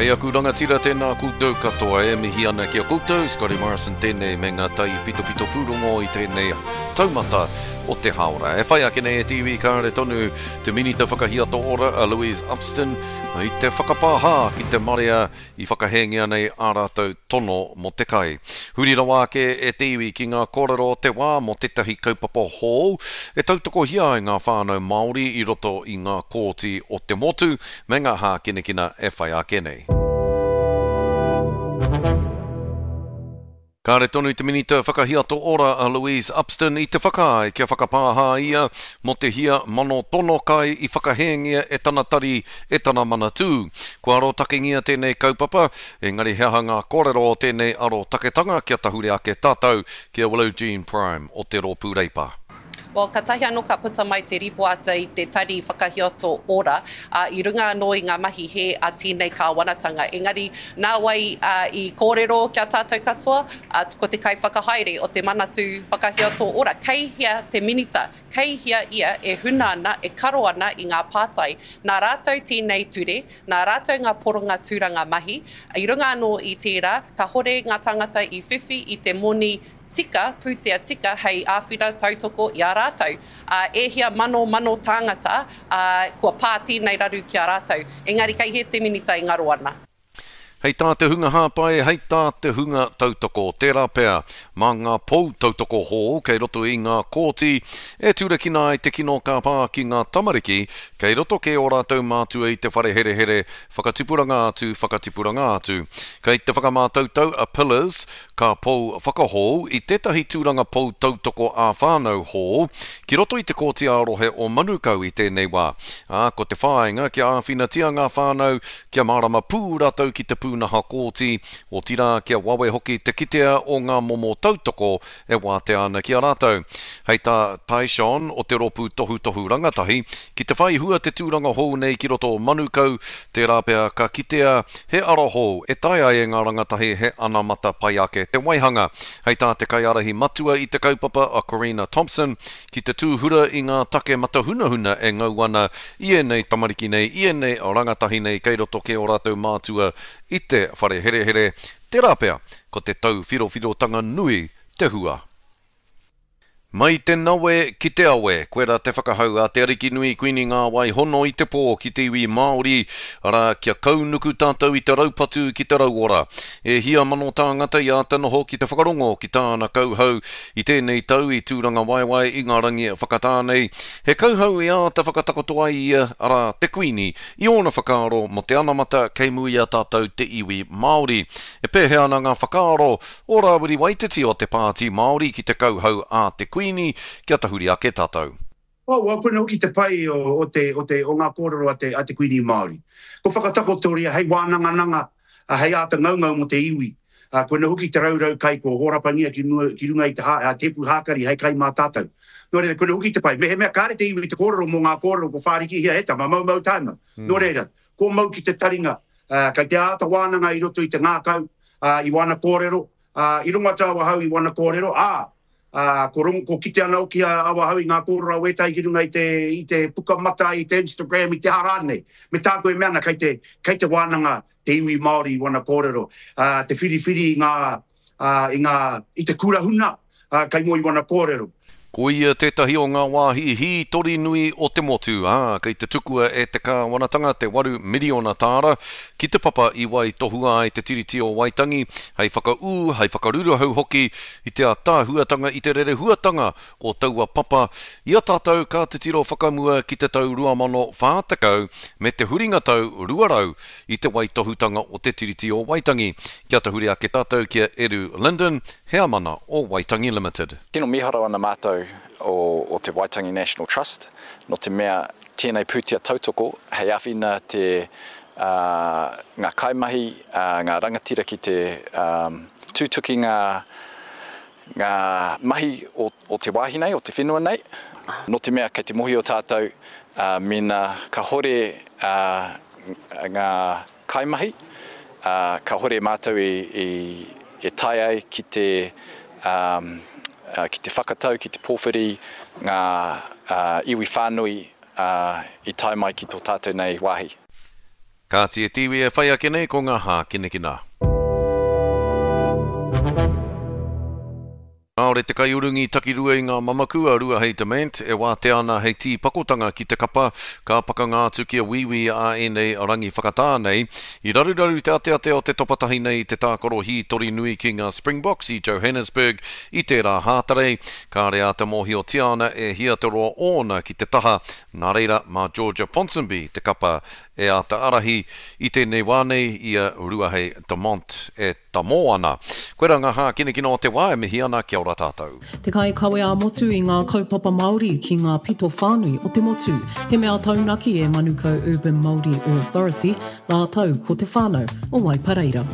Kei aku rangatira tēnā koutou katoa e mihi ana ki a koutou, Scotty Morrison tēnei me ngā tai pitopito pūrongo i tēnei taumata o te hāora. E whai ake nei e te iwi kāre tonu te Minita Whakahiato Ora a Louise Upston i te whakapāhā ki te marea i whakahēngia nei ā rātou tono mō te kai. Huri rawa ake e te iwi ki ngā kōrero o te wā mō tētahi kaupapa hou e tautokohia ai ngā whānau Māori i roto i ngā kōti o te motu me ngā hākinakina e whai ake nei. Kāre tonu te Minita Whakahiato Ora a Louise Upston i te whakaae kia whakapāha ia mō te hia mano tono kai i whakahēngia e tana tari, e tana manatū. Kua arotakengia tēnei kaupapa, engari he aha ngā kōrero o tēnei arotaketanga kia tahure ake tātou ki a Willow Jean Prime o te Rōpū Reipa. Well, katahi anō ka puta mai te ripoata i te Tari Whakahiato Ora, ā, i runga anō i ngā mahi hē a tēnei kāwanatanga. Engari, nā wai i kōrero ki a tātou katoa? Ā, ko te kaiwhakahaere o te Manatū Whakahiato Ora. Kei hea te Minita? Kei hea ia e huna ana, e karo ana i ngā pātai? Nā rātou tēnei ture, nā rātou ngā poronga tūranga mahi. I runga anō i tērā, kāhore ngā tāngata i whiwhi i te moni tika, pūtea tika hei āwhina tautoko i a rātou. Ā, e hia manomano tāngata, ā, kua pā tēnei raru ki a rātou. Engari kei hē te Minita e ngaro ana. Hei tā te hunga hāpai, hei tā te hunga tautoko, tērā pea, mā ngā pou tautoko hou kei roto i ngā kōti e turakina ai te kino ka pā ki ngā tamariki kei roto kē ō rātou mātua i te whare herehere whakatipuranga atu, whakatipuranga atu. Kei te whakamātautau a Pillars Ka pou whakahou i tētahi tūranga pou tautoko ā-whānau hou ki roto i te Kōti ā-Rohe o Manukau i tēnei wā, ā, ko te whāinga kia āwhinatia ngā whānau kia mārama pū rātou ki te pūnaha kōti, otirā kia wawe hoki te kitea o ngā momo tautoko e wātea ana ki a rātou. Hei tā Tyshon o te Rōpū Tohutohu Rangatahi, ki te whai hua te tūranga hou nei ki roto o Manukau, tērā pea ka kitea he ara hou e taea ai e ngā rangatahi he anamata pai ake te waihanga. Hei tā te kaiārahi matua i te kaupapa a Corina Thompson, ki te tūhura i ngā take matahunahuna e ngau ana i ēnei tamariki nei, i ēnei rangatahi nei kei roto kē ō rātou mātua i te whare herehere, tērā pea ko te tauwhirowhirotanga nui te hua. Mai te nawe ki te awe, koirā te whakahau a Te Arikinui Kuini Ngāwai Hono i te pō ki te iwi Māori, arā, kia kaunuku tātou i te raupatu ki te rauora. E hia mano tāngata i āta noho ki te whakarongo ki tāna kauhau i tēnei tau i Tūrangawaewae i ngā rangi whakatā nei. He kauhau i āta whakatakoto ai ia, arā, te Kuini, i ōna whakaaro mō te anamata kei mua i a tātou te iwi Māori. E pēhea ana ngā whakaaro o Rāwiri Waititi o te Pāti Māori ki te kauhau a te Kuini kia tahuri ake tātou. Oh, well, koina hoki te pai o te, o te, o ngā kōrero a te, a te Kuini Māori. Ko whakatakotoria hei wānangananga, hei āta ngaungau mō te iwi. Koina hoki te raurau kai kua hōrapangia ki mua, ki runga i te hā, tēpu hākari hei kai mā tātou. Nō reira, koina hoki te pai. Mehemea kāre te iwi te kōrero mō ngā kōrero kua whārikihia e tama, maumau tāima. Nō reira, kua mau ki te taringa, Kei te āta wānanga i roto i te ngākau, i wana kōrero, i rongo atu awahau i wana kōrero, ā, ko rongo, ko kite ana hoki awahau i ngā kōrero a wētahi ki runga i te, i te pukamata, i te Instagram, i te aha rānei. Me tāku e mea ana, kei te, kei te wānanga te iwi Māori i wana kōrero, te whiriwhiri i ngā, i ngā, i te kura huna, kei mua i wana kōrero. Ko ia tētahi o ngā wāhi hītori nui o te motu, ā, kei te tukua e te kāwanatanga te waru miriona tāra ki te papa i waitohua ai te Tiriti o Waitangi hei whakaū, hei whakaruruhau hoki i te ātaahuatanga, i te rerehuatanga o taua papa i a tātou ka titiro whakamua ki te tau 2040 me te huringa tau 200 i te waitohutanga o te Tiriti o Waitangi. Kia tahuri ake tātou ki a Eru Linden, Heamana o Waitangi Limited. Tino mīharo ana mātou o te Waitangi National Trust, nō te mea tēnei pūtea tautoko hei āwhina te ngā kaimahi, ngā rangatira ki te tūtuki ngā ngā mahi o te wāhi nei, o te whenua nei. Nō te mea kei te mohio tātou mēnā kahore ngā kaimahi, ā, kāhore mātou i, e tae ai ki te, ā, ki te whakatau, ki te pōwhiri ngā, ā, iwi whānui, ā, i tae mai ki tō tātou nei wāhi. Kāti e te iwi e whai ake nei ko ngā hākinakina. Kāore te kaiurungi takirua i ngā mamaku a Ruahei Demant e wātea ana hei tīpakotanga ki te kapa ka pakanga atu ki a Wīwī ā ēnei rangi whakatā nei. I raruraru te ateate o te topa tahi nei i te tākaro hītori nui ki ngā Springboks i Johannesburg i tērā Hātarei. Kāre āta mōhiotia ana e hia te roa ōna ki te taha, nā reira mā Georgia Ponsonby te kapa e āta ārahi i tēnei wā nei i a Ruahei Demant e tamō ana. Koirā ngā hākinakina o te wā e mihi ana kia ora tātou. Te kaikawe ā-motu i ngā kaupapa Māori ki ngā pito whānui o te motu. He mea taunaki e Manukau Urban Māori Authority rātou ko te whānau o Waipareira.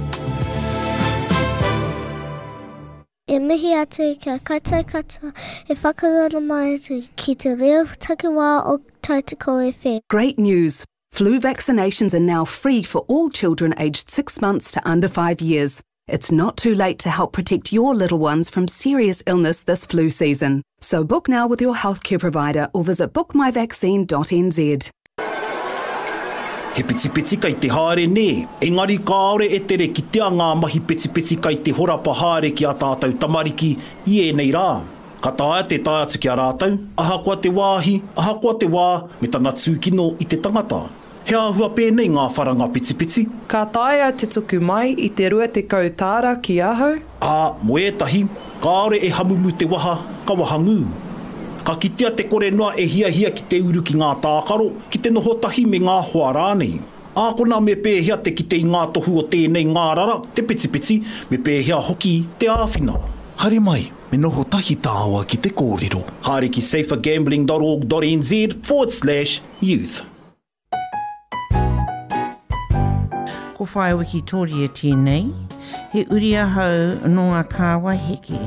E mihi atu ki a koutou katoa e whakarara mai atu ki te reo takiwā o Tautoko FM. Great news! Flu vaccinations are now free for all children aged 6 months to under 5 years. It's not too late to help protect your little ones from serious illness this flu season. So book now with your healthcare provider or visit bookmyvaccine.nz. He petipeti kei te haere nē, engari kāore e tere kitea ngā mahi petipeti kei te horapa haere ki ā tātou tamariki i ēnei rā. Ka taea te tae atu ki a rātou, ahakoa te wāhi, ahakoa te wā, me tana tūkino i te tangata. He āhua pēnei ngā wharanga petipeti. Ka taea te tuku mai i te 20 tāra ki ahau? Ā, mō ētahi, kāore e hamumu te waha, ka wahangū. Ka kitea te kore noa e hiahia ki te uru ki ngā tākaro, ki te noho tahi me ngā hoa rānei. Ākona me pēhea te kite i ngā tohu o tēnei ngārara, te petipeti, me pēhea hoki te āwhina. Haere mai, me noho tahi tāua ki te kōrero. Haere ki safergambling dot org dot nz forward slash youth. Ko Whaea Wikitoria tēnei, he uri ahau nō ngā kāwai heke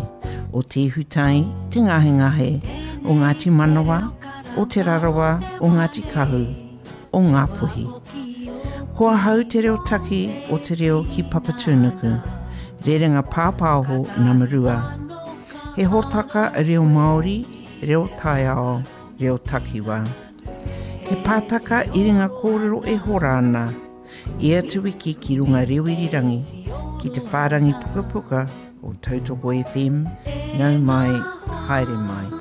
o Te Ihutai, Te Ngahengahe, o Ngāti Manawa, o Te Rarawa, o Ngāti Kahu, o Ngāpuhi. Ko ahau te reo taki o te reo ki Papatūnuku, rerenga pāpāho nama 2. He hōtaka reo Māori, reo taiao, reo takiwā. He pātaka iringa kōrero e hora ana, ia te wiki ki runga reo irirangi, ki te whārangi pukapuka o Tautoko FM, nau mai, haere mai.